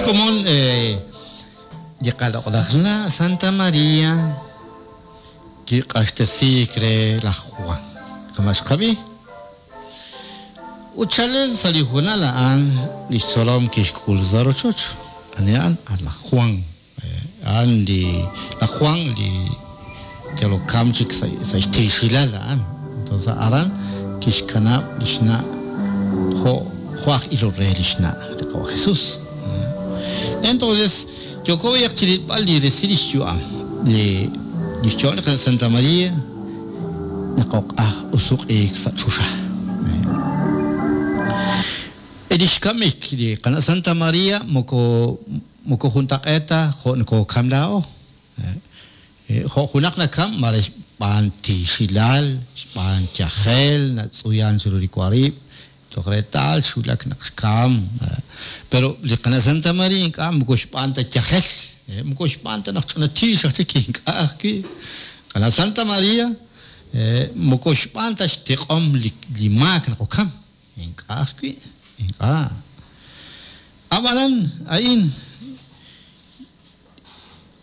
Komon li qaloq'laj na' Santa Maria kiq'axtesiik re laj Juan. Kama' xqab'i. Ut chalen sa' li hoonal a'an li xtzolom kixk'ul sa' rochoch. Ani a'an? A' laj Juan. A'an li laj Juan li yalok kam chik sa' xtiixilal a'an. Entonces aran kixkanab' li xna' jo' jo' aj ilol re li xna' li Qawa' Jesús. Entonces yooko b'ayaq chi rilb'al li resil li xyu'am li li xyu'am li qana' Santa María naqoq'aj usuq'iik sa' choxa. E li xkamik li qana' Santa María moko moko juntaq'eet ta jo' nokokam laa'o. Jo' junaq nakam mare xb'aan tiixilal, xb'aan yajel, natz'uyan chiru li warib', toj reetal xwulak naq xkam. Pero li qana' Santa María ink'a' moko xb'aan ta yajel, moko xb'aan ta naq ch'ina tiix aj chik ink'a' ajwi'. Qana' Santa María moko xb'aan ta xtiq'om li maak naq okam, ink'a' ajwi', ink'a'. Ab'anan a'in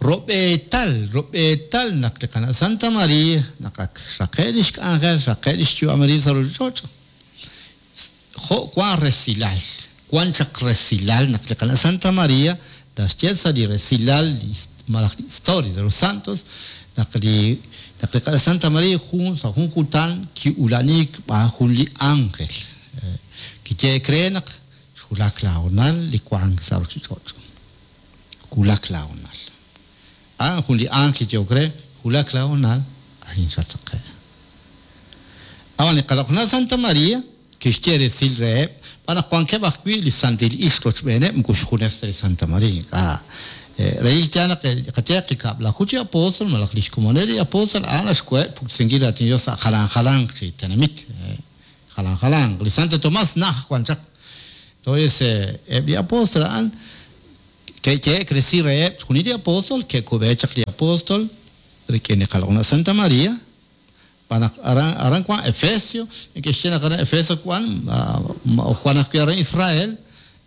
Rob'eetal, rob'eetal naq li qana' Santa Maria, naq ak xraqe' lix k'anjel, xraqe' lix yu'am arin sa' ruchich'och', jo' wan resilal, wan chaq resilal naq li qana' Santa Maria naxye sa' li resilal li malaj li Historia de los Santos naq li naq li qana' Santa Maria jun sa' jun kutan ki'ula'aniik xb'aan jun li ángel kiyehe'k re naq xwulak laahoonal li wank sa' ruchich'och'. Wulak laahoonal. A'an jun li ánjel kiyeehok re, Wulak laahoonal, arin xattaqe'. Ab'an li qaloq'nal Santa Maria kixye resil reheb' b'an naq wankeb' ajwi' li santil ixq rochb'eeneb' moko xjunes ta li Santa Maria ink'a'. Relik yaal naq qayeeq li kab'laju chi apóstol malaj li xkomoneb' li apóstol a'an naxkoheb' puktesinkil raatin li Dios sa' jalan jalanq chi tenamit. Jalan jalanq. Li Santo Tomás najt wan chaq. Entonces, eb' li apóstol a'an ke'yehe'k resil reheb' chixjunil li apóstol, ke'kub'e chaq li apóstol rik'in li qaloq'naq Santa María, xb'aan naq aran aran wank Efesio, neke'xye naq aran Efeso wank, wank ajwi' aran Israel.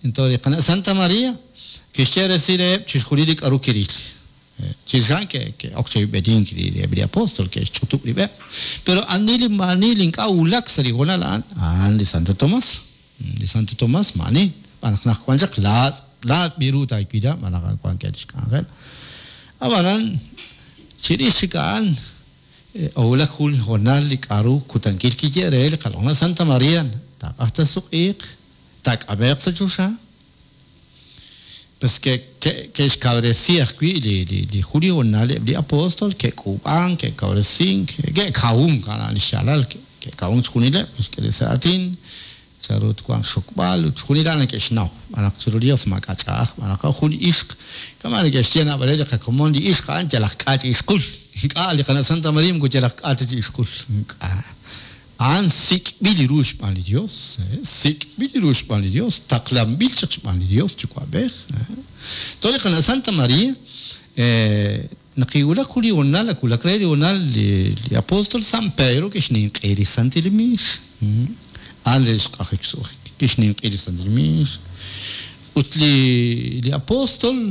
Entonces, li qana' Santa María kixye resil reheb' chixjunil li k'aru kiril. Chirix a'an ke'ok chi oyb'enink eb' li apóstol, ke'xch'utub' rib'eb'. Pero ani li maa'ani li ink'a' wulak sa' li hoonal a'an, a'an li Santo Tomás. Li Santo Tomás maa'ani, xb'aan naq naq wan chaq laatz', laatz' b'i ru taawila xb'aan naq a'an wankeb' lix k'anjel. Ab'anan, chirix chik a'an, owulak jun li hoonal li k'a'ru kutankil kiye re li qaloq'naq Santa María, taaq'ajq taasuq'iiq, taak'ame'q sa' choxa. Pues ke'xkawresi ajwi' li jun li hoonal eb' li apóstol, ke'k'uub'ank, ke'kawresink, ke'kawunk, a'an li xyaalal, ke'kawunk chixjunileb', ke'xk'e li sa' aatin, chanru twanq xxokb'al ut chixjunil a'an neke'xnaw. Xb'aan naq chiru li Yos maak'a' ch'a'aj, xb'aan naq jun li ixq, kama' neke'xye naab'aleb' li qakomon, li ixq a'an yal aj k'a' chi ixqul. Ink'a', li qana' Santa María moko yal aj k'a' ta chi ixqul. Ink'a'. A'an sik'b'il ru xb'aan li Dios, sik'b'il ru xb'aan li Dios, taqlanb'il chaq xb'aan li Dios Yuwa'b'ej. Toj li qana' Santa Maria, naq kiwulak jun li hoonal, ak wulak re li hoonal, li apóstol San Pedro kixninq'ehi li santil miix. A'an re xq'ajik xsu'jik, kixninq'ehi li santil miix. Ut li apóstol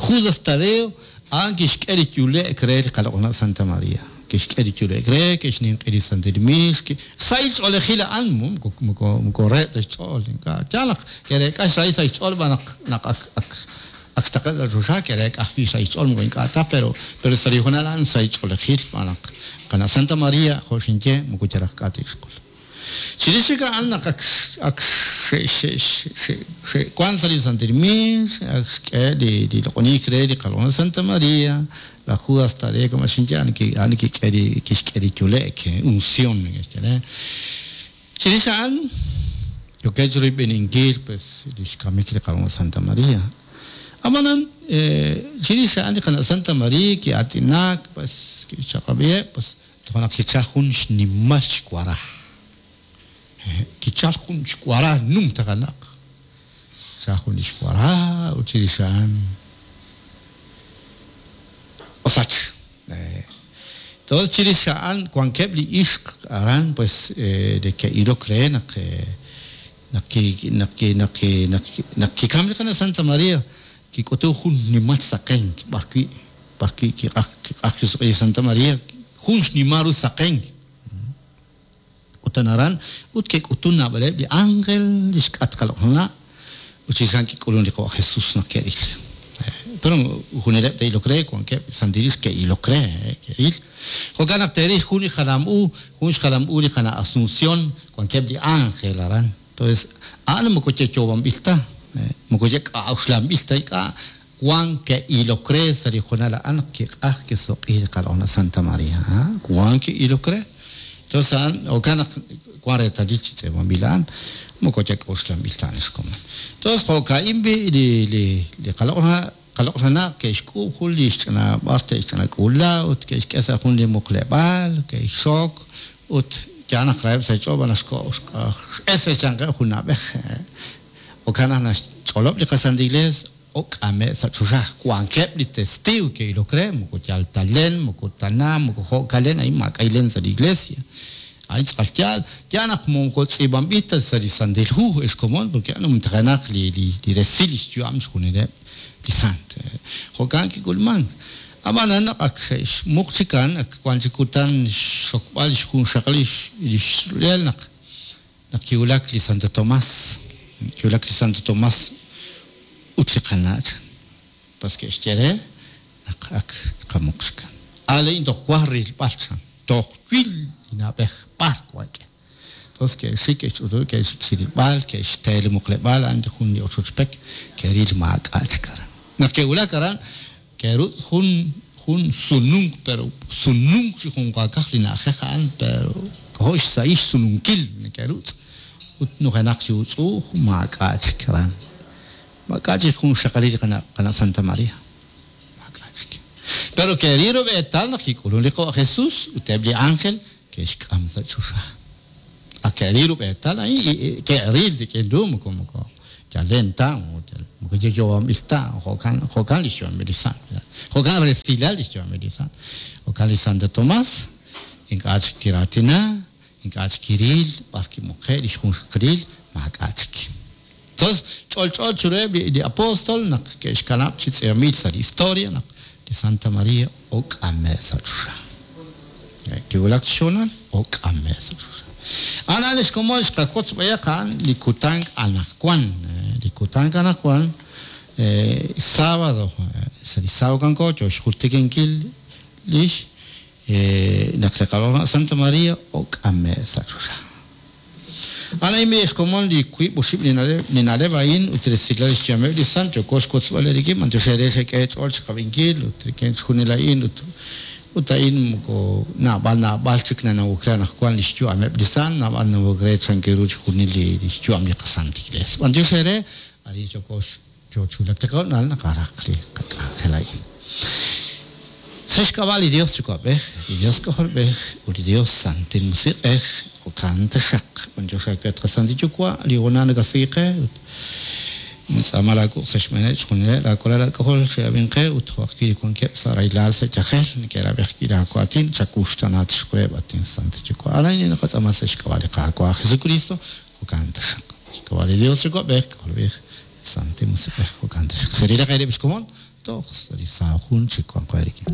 Judas Tadeo, a'an kixk'e li yule'k re li qaloq'naq Santa Maria. Ke'xk'e li yule'k re, ke'xninq'e li santil miix, sahil ch'oolejil a'an, moko, moko, moko reheb' ta xch'ool, ink'a'. Yaal naq ke'reek'a xrahil sa' xch'ool xb'aan naq, naq ak, ak, ak xtaqe'k sa' choxa, ke'reek'a ajwi' xrahil xch'ool, moko ink'a' ta, pero, pero sa' li hoonal a'an sahil ch'oolejil xb'aan naq qana' Santa Maria, jo' xinye, moko yal aj k'a' te'xk'ul. Chirix chik a'an naq ak, ak xe', xe', xe', xe'wank sa' li santil miix, ak xk'e li, li loq'oniik re li qaloq'naq Santa Maria, Laj Judas Tadeo kama' xinye, a'an a'an kik'e li kixk'e li yule'k, unción neke'xye re. Chirix a'an, yookeb' chiroyb'eninkil pues lix kamik li qana' Santa Maria. Ab'anan, chirix a'an li qana' Santa Maria ki'aatinak, pues kixchaq'rab'iheb', pues toja' naq kichal jun xnimal xwara. Kichal jun xwara numtajenaq. Sa' jun li xwara ut chirix a'an osach. Entonces chirix a'an wankeb' li ixq aran pues li ke'ilok re naq Naq ki naq ki naq ki naq naq kikam li qana' Santa Maria kik'utun jun xnimal saqenk b'ar wi' b'ar wi' kiq'aj kiq'aj kisuk'i li Santa Maria jun xnimal ru saqenk. Ut aran ut ke'k'utun naab'aleb' li ánjel li xk'atq qaloq'na' ut chirix a'an kik'ulun li Qawa' Jesús naq ke'ril. Pero juneleb' te'ilok re, wankeb' santil ixq ke'ilok re, ke'ril. Jo'kan naq teeril jun li jalam u, jun xjalam u li qana' Asunción, wankeb' li ánjel aran. Entonces, a'an moko yeyoob'anb'il ta, moko yek'a'uxlanb'il ta ink'a', wan ke'ilok re sa' li hoonal a'an naq kiq'aj kisuq'i li qaloq'na' Santa Maria, wan ke'ilok re. Entonces a'an jo'kan naq wan reetalil chi tz'iib'anb'il a'an, moko yak'oxlanb'il ta a'an xkomon. Entonces jo'ka'in b'i' li li li qaloq'na' qaloq'na' ke'xk'uub' jun li xch'ina b'ar te'xch'ina k'uula ut ke'xk'e sa' jun li muqleb'aal, ke'xxok ut yaal naq raheb' sa' xch'ool b'an naxko' x'el sa' xyanqeb' jun na'b'ej. Jo'kan naq naxch'olob' li qaSanta Iglees ok'ame' sa' choxa. Wankeb' li testiiw ke'ilok re, moko yal ta len, moko tana, moko jo'kan len, a'in maak'a' len sa' li Iglesia. A'in tz'aqal yaal. Yaal naq moko tz'iib'anb'il ta sa' li Santil Hu, ex komon, porque a'an numtajenaq li, li, li resil lix yu'am xjunileb' li sant. Jo'kan kik'ulmank. Ab'anan naq ak xe'xmuq chikan, ak wan chik kutan xxokb'al lix junxaqalil lix rulel naq Naq kiwulak li Santo Tomas, kiwulak li Santo Tomas ut li qana' chan, pas ke'xye re naq ak qamuq chikan. A laa'in toj waj rilb'al chan, toj wil li na'b'ej b'ar wank'e. Entonces ke'xik, ke'xch'utub', ke'xik chi rilb'al, ke'xte li muqleb'aal, a'an jun li ochoch pek, ke'ril maak'a' chik aran. Naq ke'wulak aran, Ke'rutz' jun jun sununk pero sununk chi junqaakaj li na'ajej a'an pero k'ajo' xsahil xsununkil neke'rutz' ut nujenaq chi utz'u'uj maak'a' chik aran. Maak'a' chik jun xxaqalil li qana' qana' Santa Maria. Maak'a' chik. Pero ke'ril rub'eetal naq kik'ulun li Qawa' Jesús ut eb' li ánjel ke'xk'am sa' choxa. Ak ke'ril rub'eetal a'in, ke'ril rik'in ru moko moko Chalen ta, moko yo'yo'anb'il ta, jo'kan, jo'kan lix yu'amil li sant. Jo'kan resilal lix yu'amil li sant. Jo'kan li Santo Tomas, ink'a' chik kiraatina, ink'a' chik kiril b'ar kimuqe' lix junxaqalil, maak'a' chik. Entonces, ch'olch'o chiruheb' li, li apostol naq ke'xkanab' chi tz'iib'anb'il sa' li historia naq li Santa Maria ok'ame' sa' choxa. Kiwulak chi xhoonal, ok'ame' sa' choxa. A'an a'an lix komon xqawotz b'ayaq a'an li kutan anaqwan. Li kutan anaqwan, sábado, sa' li sábado wanko yoo xjultikankil lix naq li Qaloq'laj Santa Maria ok'ame' sa' choxa. A'an a'in b'i' xkomon li wiib' oxib' li na'leb' li na'leb' a'in ut resilal lix yu'ameb' li sant yooko xwotzb'al eerik'in b'antiox eere xek'e eech'ool chiqab'inkil ut rik'in chixjunil a'in ut ut a'in moko naab'al naab'al chik nanawok re anaqwan lix yu'ameb' li sant naab'al nanawok re chan ru chixjunil li lix yu'am li qaSanta Iglees. B'antiox eere arin yooko Yoo chi wulak li qahoonal naqaraq li qak'anjel a'in. Sa' xk'ab'a' li Dios Yuwa'b'ej, li Dios K'ajolb'ej, ut li Dios Santil Musiq'ej, jo'kan taxaq. B'antiox aawe, at qaSantil Yuwa', li hoonal nakasi qe, ut nintz'aama laa wuq' sa' xb'eeneb' chixjunileb' laa walal aak'ajol xe'ab'in qe, ut jo' ajwi' li wankeb' sa' rahilal sa' yajel, neke'rab'i ajwi' laa waatin, chawuxtaana tixqureb', at inSantil Yuwa'. A'an a'in li naqatz'aama sa' xk'ab'a' li Qaawa' Jesukristo, jo'kan taxaq. Xk'ab'a' li Dios Yuwa'b'ej, K'ajolb'ej, Santil Musiq'ej, jo'kan taxaq. Cherilaq eerib' xkomon toj sa' li saa jun chik wanqo eerik'in.